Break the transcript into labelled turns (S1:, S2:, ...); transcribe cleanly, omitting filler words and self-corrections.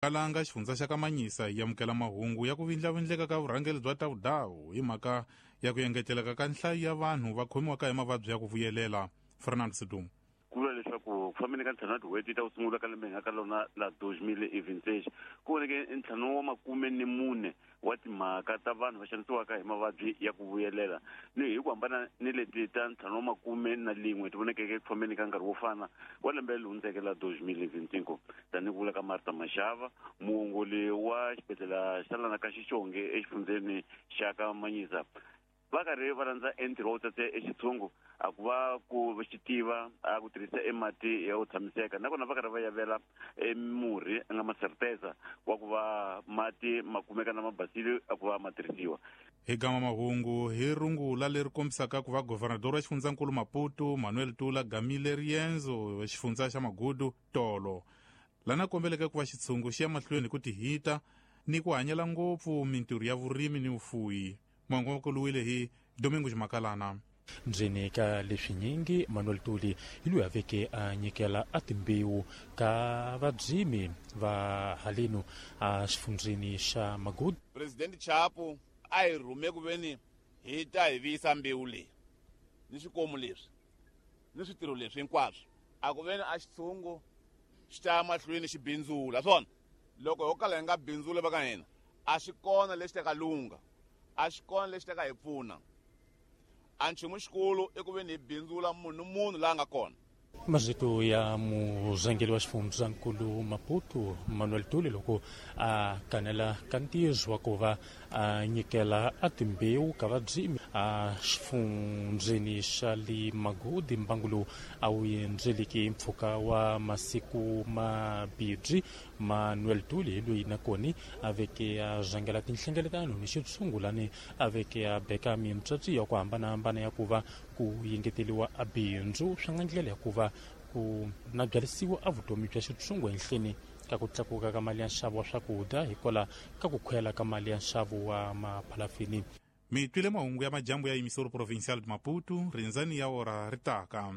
S1: Kalanga xifundza xa Kamanyisa yi amukela mahungu ya ku vindlavindleka ka vurhangeri bya Tawudawu hi mhaka ya ku engeteleka ka nhlayo ya vanhu va khomiwaka hi mavabyi ya ku vuyelela. Fernando Sidumo.
S2: Ku vula leswaku ku fambeni ka ntlhanu wa tin'hweti ta ku sungula ka lembe hi nga ka lona la 2026, ku voneke ntlhanu wa makume ni mune wa timhaka ta vanhu va xanisiwaka hi mavabyi ya ku vuyelela, ni hi ku hambana ni leti ta ntlhanu wa makume na lin'we ti vonekeke eku fambeni ka nkarhi wo fana wa lembe leri hundzeke la 2025. Tanihi ku vula ka Martha Mashava, muongoli wa xibedlhela xa lana ka Xixonge exifundzheni xa ka Manyisa, va karhi va landza entirho wa ku tsatsa exitshungu a ku va ku xi tiva a ku tirhisa e mati ya ku tshamiseka, nakona va karhi va yavela e murhi a nga maserteza wa ku va mati ma kumeka na ma basile a ku va ma tirhisiwa.
S1: Hi gama mahungu hi rungula leri kombisaka ku va governador wa xifundzankulu Maputo Manuel Tula gamile riendzo xifundza xa Magudu tolo lana kombeleke ku va xitshungu xi ya mahlweni hi ku tihita ni ku hanyela ngopfu mintirho ya vurimi ni vufuyi. Mongo wa kuluwile hi Domingo Makalana.
S3: Ndzeni ka leswinyingi Manuel Tuli hi loyi a veke a nyikela a timbewu ka vadzimi va halenu a xifundzeni xa Magudu.
S4: President Chapo a hi rhume ku veni hi ta hi viyisa mbewu leyi ni swikomu leswi ni switirho leswi hinkwaswo, a ku veni a xitshungu xi ta ya mahlweni xi bindzula swona. Loko ho kala hi nga bindzuli va ka hina, a xi kona lexi ta ka lungha, a xi kona lexi ta ka hi pfuna. A nchumu xikulu i ku veni hi bindzula munhu ni munhu laha nga kona.
S3: Marito ya murhangeri wa xifundzankulu Maputo Manuel Tuli loko a kanela ka ntirho wa ku va a nyikela a timbewu ka vadzimi a xifundzeni xa le Magodi, mbangu lowu a wu endzeleki mpfhuka wa masiku mabirhi. Manuel Tuli hi loyi nakona a veke a rhangela tinhlengeletano ni xitshungulani a veke a beka mintswatsi ya ku hambanahambana ya ku va ku yengeteliwa a bindzu swi nga ndlela ya ku va ku nabyalisiwa a vutomi bya xitshungu ehenhleni ka ku tlakuka ka mali ya nxavo wa swakudya hikwalaho ka ku khwela ka mali ya nxavo wa maphalafini.
S1: Mi twile mahungu ya majambu ya Emissora Provincial de Maputo, rindzani ya ora ri taka.